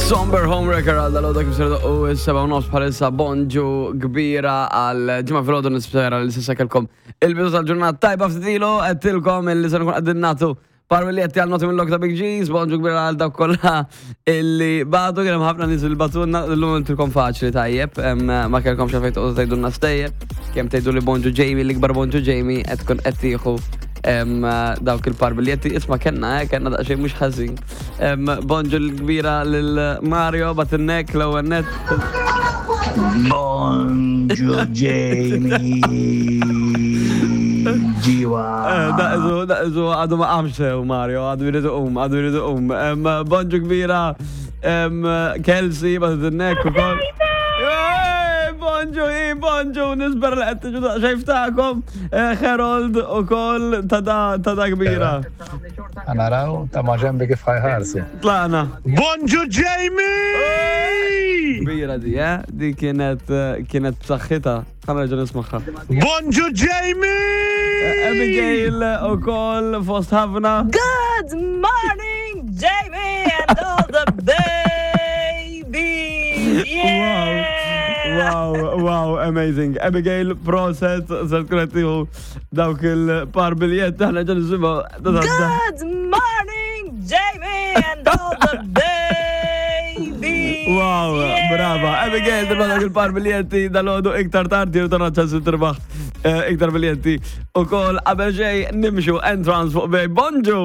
Somber Homewrecker għal dal-għoda kif ser u s-seba u nofs bħalissa bonġu kbira għal ġimgħa filgħodu nispera li s'issa kellkom il-bidu tal-ġurnata tajba ftit-ilu għedtilkom illi se nkun qegħdin nagħtu par biljetti għal noti mill-lok ta' Big G's, bonġu kbira għal dawk kollha illi bagħtu kien hemm ħafna nies li bagħtulna llum intilkom faċli tajjeb, ma kellkomx għalfejn toqgħodu tgħidulna stejjer, kemm tgħidu li bonġu Jamie, l-ikbar bonġu Jamie qed tkun qed tieħu dawk il-par biljetti, isma' kellna, eh, kellna daqsxejn mhux ħażin. Bonġu l-kbira lil Mario batinnek l-ewwel net. Bonġu Jamie. Ġiwa. Eh, daqsu, daqsu, għadu ma qamx sew Mario, għadu jridu um, għadu jridu um. Bonġu kbira Kelsey batinnek ukoll. Bonġu, i, bonġu, nisber li qed tiġu daqsxejn ftakom. Eh, Harold ukoll ta' da kbira. Naraw ta' maġenbi kif ħajħarsu. Tlaqna. Bonġu Jamie! Kbira di, eh? Di kienet eh, kienet b'saħħitha. Ħa nerġa' nismagħha. Bonġu Jamie! Eh, Abigail ukoll fost ħafna. Good morning, Jamie and all the babies! Yeah! Wow, wow, amazing. Abigail, proset, se tkun qed tieħu Dawk il-par biljett aħna ġan nisimgħu. Good morning, Jamie and all the babies. Wow, brava. Abigail, tirbaħ dawk il-par biljetti dal-għodu iktar tard jirtona ċans tirbaħ eh, iktar biljetti. U kol qabel xej nimxu entrance fuq bej. Bonġu!